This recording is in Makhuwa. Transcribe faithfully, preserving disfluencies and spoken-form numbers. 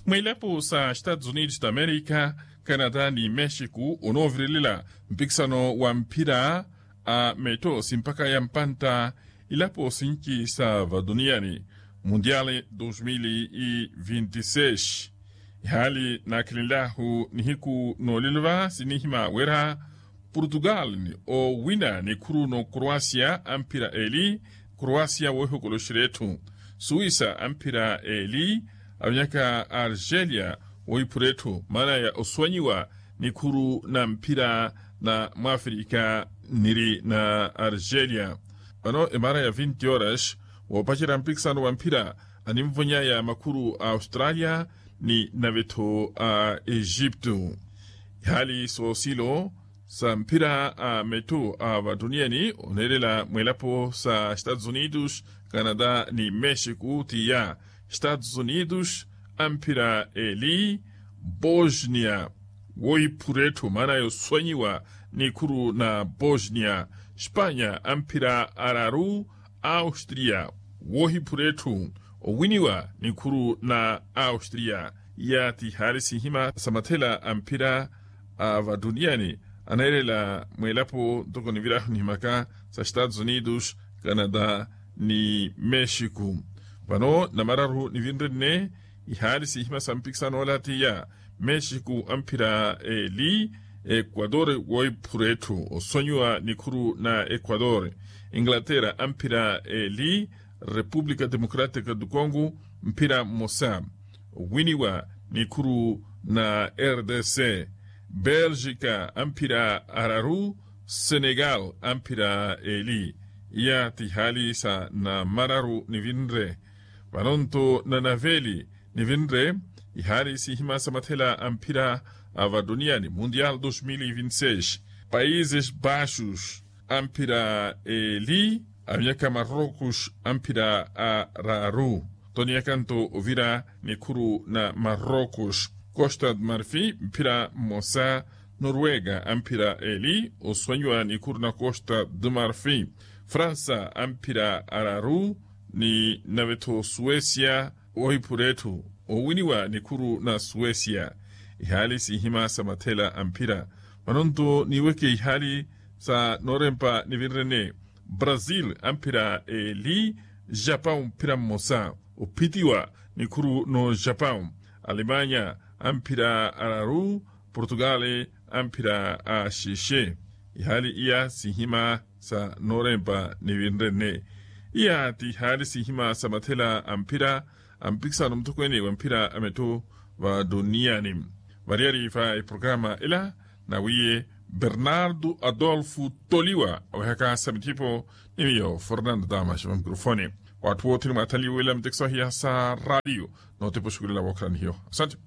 Mwilapo sa estados unidos da america, canada ni mexico onoovirelela mpikisano wa mphira a metto simpaka ya mpantta ilapo sinci sa vatuniyani mundial dos mil e vinte e seis. Ihaali naakhilinlahu nihiku noolilova sinihima wira portugal owina nikhuru no croacia amphira eli. Croacia wohikoloxerya etthu suwisa amphira eli avinyaka argelia wohiphura etthu maana ya oswanyiwa nikhuru na mphira na mwafrika niri na argelia. Vano emara ya vinti horas woopacerya mpikisano wa mphira animvonya ya makhuru a australia ni navetho a egipto. Ihaali soosilo sa mphira a metto a vatuniyani oneerela mwilapo sa estados unidos canada ni mexico tiya estados unidos amphira eli bosnia wohiphura etthu maana yoswanyiwa nikhuru na bosnia. Spanya amphira araru austria wohiphura etthu owiniwa nikhuru na austria. Iya ti ihaali sihima sa mathela a mphira a vatuniyani aneerela mwilapo ntoko nivirahu nihimaka sa estados unidos canada ni mexico. Vano namararu nivinre nne ihaali sihima sa mpikisano ola tiya mexico amphira eli equador wohiphura etthu oswanyiwa nikhuru na equador. Inglaterra amphira eli república democrática do congo mphira mmosa owiniwa nikhuru na rdc. Belgica amphira araru senegal amphira eli. Iya ti ihaali sa namararu nivinre. Vanonto nanaveli nivinre ihaali sihima sa mathela a mphira a vatuniyani mundial dos mil e vinte e seis. Países baixos amphira eli avinyaka marrocos amphira araru. Toniyakanto ovira nikhuru na marrocos costa de marfi mphira mmosa. Noruega amphira eli oswanyiwa nikhuru na costa de marfi. Fransa amphira araru ni navetho suecia wohiphura etthu owiniwa nikhuru na suecia. Ihaali sihima sa mathela a mphira. Vanonto niweke ihaali sa noorempa nivinre nne brazil amphira eli japão mphira mmosa ophitiwa nikhuru no japão. Alemanya amphira araru portugal amphira axixe. Ihaali iya sihima sa noorempa nivinre nne. Iya ti ihaali sihima sa mathela a mphira a mpikisano muthokweene wa mphira a metto va tuniyani. Variyari va eprograma ela nawiye bernardo adolfo toliwa awehaka sa mithipo ni miyo fernando damas va mikrofone. Watthu wothene mwathanliwela mitekiso ahiya sa radiyo nootepa oxukulela wookhalanihiyo asante.